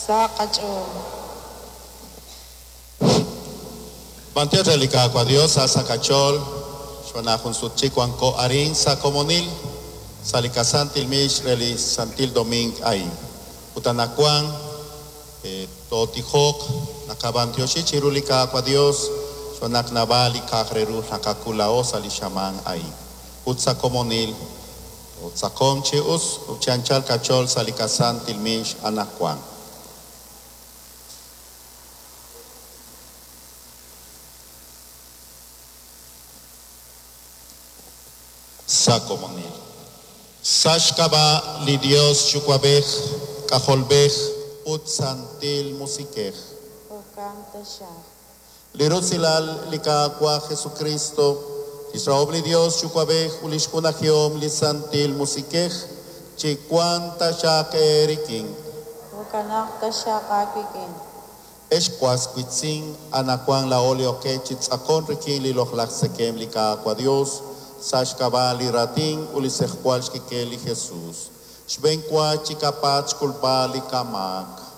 Sa qach'ool. B'antiox re li Qaawa' Dios sa' sa' qach'ool, xb'aan naq jun sut chik wanko arin sa' komonil, sa' li qasantil miix re li Santil Doming a'in. Ut anaqwan tootijoq, naqab'antioxi chiru li Qaawa' Dios xb'aan naq naab'al li k'a'aq re ru naqak'ul laa'o sa' li xamaan a'in. Ut sa' komonil, tootz'aqonq chi us ut chi anchal qach'ool sa' li qasantil miix anaqwan. Sa' komonil. Sa' xk'ab'a' li Dios Yuwa'b'ej, K'ajolb'ej ut Santil Musiq'ej. Jo'kan taxaq. Li rusilal li Qaawa' Jesukristo, lix rahom li Dios Yuwa'b'ej ut lix junajihom li Santil Musiq'ej chiwanq taxaq eerik'in. Jo'kanaq taxaq aawik'in. Ex was wiitz'in, anaqwan laa'o li ok chi tz'aqonk rik'in li loq'laj tzekemq li Qaawa' Dios sa' xk'ab'a' li raatin ut li tz'ejwal xkik'el li Jesus. Xb'enwa chiqapatz' xk'ulb'al li qamaak.